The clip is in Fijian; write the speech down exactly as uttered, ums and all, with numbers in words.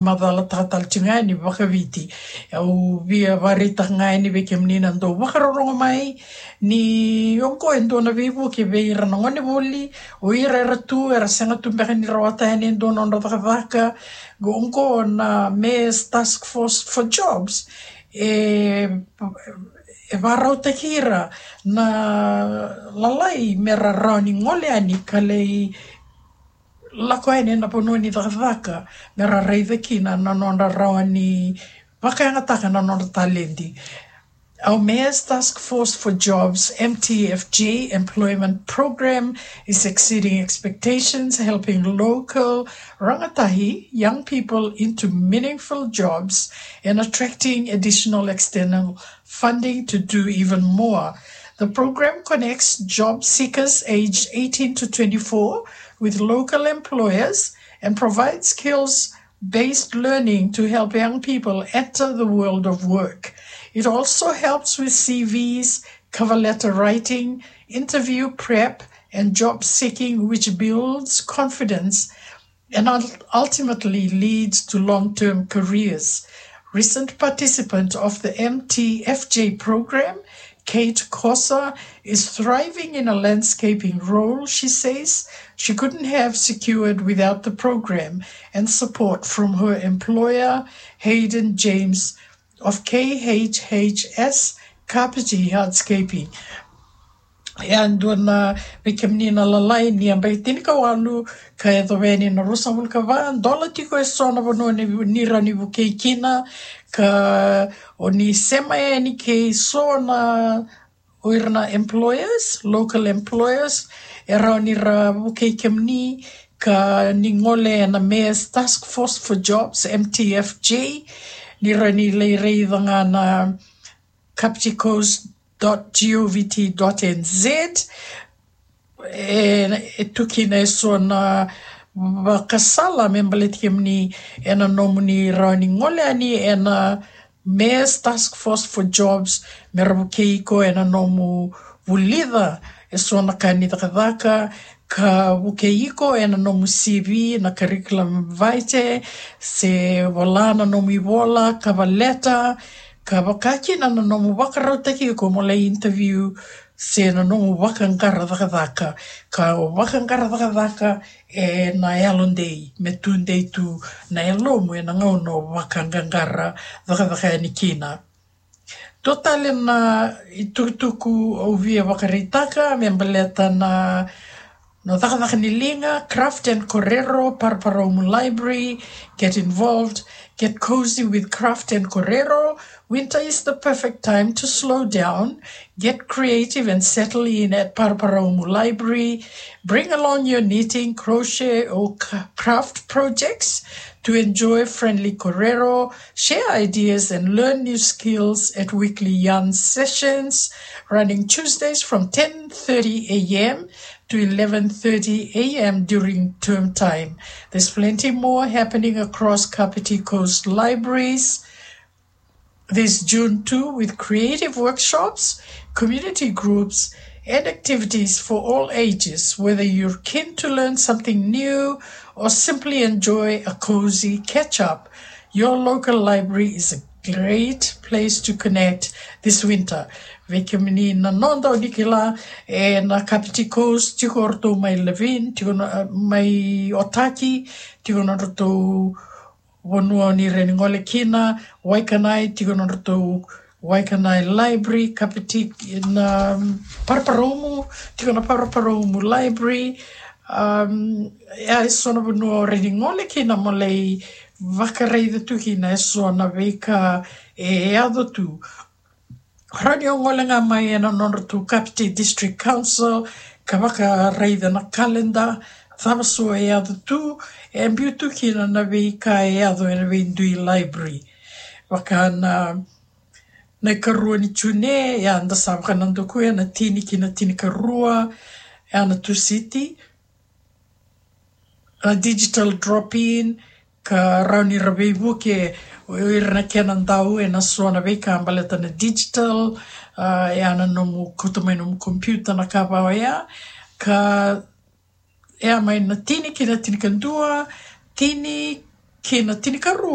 macalataka tale tiko ga yani vakaviti. Au via vakaraitaka ga yani vei kemuni na dau vakarorogo mai ni oqo e dua na veivuke vei ira na gonevuli, o ira era tu, era sega tu beka ni rawata yani e dua na nodra cakacaka. Oqo na Mayor's Task Force for Jobs e, e vakarautaki ira na lalai mera rawa ni gole yani ka lai lako yani ena vanua ni cakacaka, mera raica kina na nodra rawa ni vakayagataka na nodra taledi. Our Mayor's Task Force for Jobs, M T F J, employment program is exceeding expectations, helping local rangatahi young people into meaningful jobs and attracting additional external funding to do even more. The program connects job seekers aged eighteen to twenty-four with local employers and provides skills based learning to help young people enter the world of work. It also helps with C Vs, cover letter writing, interview prep, and job seeking, which builds confidence and ul- ultimately leads to long term careers. Recent participant of the M T F J program, Kate Kosa, is thriving in a landscaping role she says she couldn't have secured without the program and support from her employer, Hayden James of K H H S Carpety Hardscaping. E a dua na vei kemuni na lalai ni yabaki tinikawalu ka yacova yani na ruasagavulu ka va, dola tiko e so na vanua ni, ni rawa ni vukei kina, ka o ni sema yani kei so na o ira na employers, local employers, e rawa ni ra vukei kemuni ka ni gole ena Mayor's Task Force for Jobs, M T F J, ni rawa ni lai raica ga na Kapiti Coast dot govt dot nz. E, e tu kina e so na vakasala me baleti kemuni ena nomuni rawa ni gole yani ena Mayor's Task Force for Jobs, me ra vukei iko ena nomu vulica e so na ka ni cakacaka, ka vukei iko ena nomu C V, na curriculum vitae, se vola na nomu ivola, cover letter, ka vaka kina na nomu vakarautaki iko mo lai interview, se na nomu vakaqara cakacaka. Ka o vakaqara cakacaka ena yalodei, me tudei tu na yalomu ena gauna o vakaqaqara cakacaka yani kina. Dua tale na itukutuku au via vakaraitaka me baleta na, na cakacaka ni liga, Craft and Korero, Paraparaumu Library, get involved, get cozy with Craft and Korero. Winter is the perfect time to slow down, get creative and settle in at Paraparaumu Library. Bring along your knitting, crochet or c- craft projects to enjoy friendly korero, share ideas and learn new skills at weekly yarn sessions running Tuesdays from ten thirty a.m. to eleven thirty a.m. during term time. There's plenty more happening across Kapiti Coast Libraries this June too, with creative workshops, community groups, and activities for all ages. Whether you're keen to learn something new or simply enjoy a cozy catch-up, your local library is a great place to connect this winter. Vei kemuni na noda, o ni kila, e na Kapiti Coast, tiko o ratou mai Levin, tiko na, mai Otaki, tiko na ratou vanua ni rawa ni gole kina, Waikanae, tiko na nodratou Waikanae Library, Kapiti na Paraparaumu, tiko na Paraparaumu Library. Um, e a eso na vanua o rawa ni gole kina mo lai vakaraica tu kina eso na veika e yaco tu. Rawa ni o gole ga mai ena nodratou Kapiti District Council ka vakaraica na kaleda, cava so e yaco tu, e biu tu kina na veika e yaco ena veidui library. Vaka na, na ikarua ni June, ia da sa vakanadakuya na tini ki na tinikarua, ia na Tusiti. A digital drop-in, ka rawa ni ra veivuke o ira na kena dau ena so na veika baleta na digital, a, ia na nomu kauta mai nomu computer na ka va oya, ka ia mai na tini ki na tinikadua, tini kei na tinikarua